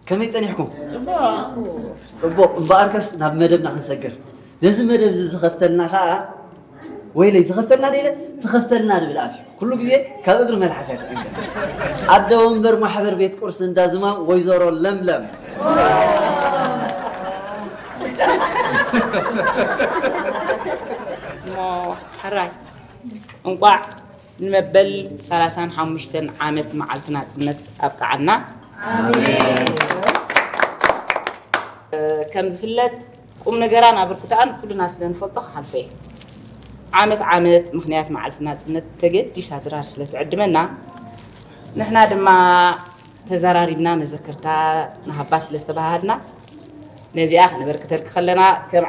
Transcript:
ከመይ ጸኒሕኩም? ጽቡቕ። እምበኣርከስ ናብ መደብና ክንሰግር። ነዚ መደብ እዚ ዝኸፍተልና ኸኣ፣ ወይለይ፣ ዝኸፍተልና ደይለ፣ ትኸፍተልና ንብል ኣፍ እዩ። ኩሉ ግዜ ካብ እግሪ መልሓስ ኣይትዕንቀ። ኣደ ወንበር ማሕበር ቤት ቁርሲ እንዳ ዝማም ወይዘሮ ለምለም። እሞ ሕራይ እንቋዕ ንመበል ሰላሳን ሓሙሽተን ዓመት መዓልቲ ናጽነት ኣብቅዓና። ከም ዝፍለጥ ቁም ነገራን ኣበርክቶኣን ኩልና ስለ ንፈልጦ ክሓልፎ እየ። ዓመት ዓመት ምኽንያት መዓልቲ ናጽነት ተገዲሳ ድራር ስለ ትዕድመና ንሕና ድማ ተዘራሪብና መዘክርታ ንሃባ ስለ ዝተባሃሃድና ነዚኣ ክነበርክተልኪ ከለና ከም